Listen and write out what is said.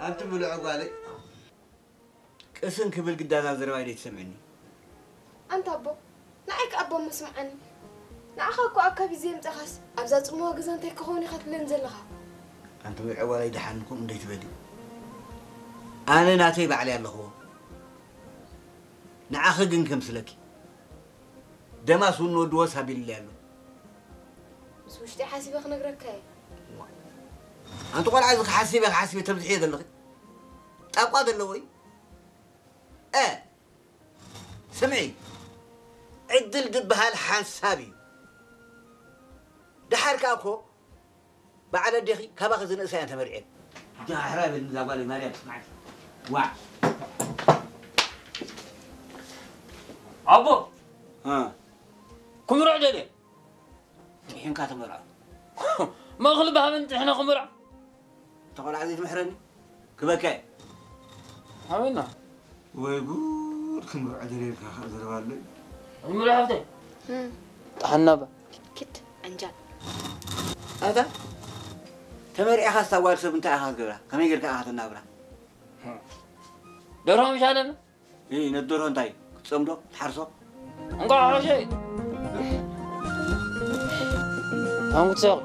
ኣንቲ ምሉዕ ጓለይ፣ ቅስን ክብል ግዳዛ ዘረባይ ደይትሰምዕኒ? ኣንታ ኣቦ፣ ንዓይ ከኣ ኣቦ መስምዓኒ። ንዓኻ እኮ ኣብ ከቢድ ዘየምጻኻስ ኣብዛ ጽምዋ ገዛ እንታይ ክኸውን ኢኻ ትብለኒ ዘለኻ? ኣንቲ ምሉዕ ጓለይ፣ ደሓን እኮ እንደይ ትበሊ? ኣነ ናተይ ባዕለይ ኣለኽዎ። ንዓኺ ግን ከምስለኪ። ደማስ እውን ንወዲ ወስ ኣቢልለይ ኣሎ። ምስ ውሽጢ ሓሲበ ክነግረካ እየ። ኣንቲ ቆልዓ፣ እዚ ክሓሲበ ክሓሲበ ተብዝሕዮ ዘለኺ ጣቋ ዘለዎ እዩ። እ ስምዒ፣ ዕድል ዝበሃል ሓንሳብ እዩ። ደሓር ከኣ እኮ በዓል ኣዴኺ ካባኺ ዝንእሳ እየን ተመርዕየን። ዳሕራ በል እዛ ጓለይ ማርያም፣ ስምዓኪ። ዋዕ። ኣቦ፣ እ። ክምርዖ ደልየ። ጥሒንካ ተመርዖ። መእኽሊ ብሃበን ጥሒነ ክምርዖ። እታ ቆልዓ ዘይትምሕረኒ ክበካ እየ። ሃበና። ወይ ጉድ፣ ክምርዖ ደልየ ኢልካ ከኣ ዘረባ ኣሎ እዩ። ይምርዖ ሃብተይ። እም። ጠሓና ባ። ኪድ፣ ዓንጃል። ኣታ፣ ተመርዒኻ ስታ ጓል ሰብ እንታይ ኢኻ ክትገብራ? ከመይ ጌርካ ኢኻ ከተናብራ? ደርሆ ምሽ ኣለና? እ፣ ነቲ ደርሆ እንታይ? ክትጸምዶ? ክትሓርሶ? እንቋዕ ሓሸ። ኣንጉት ሰቕ።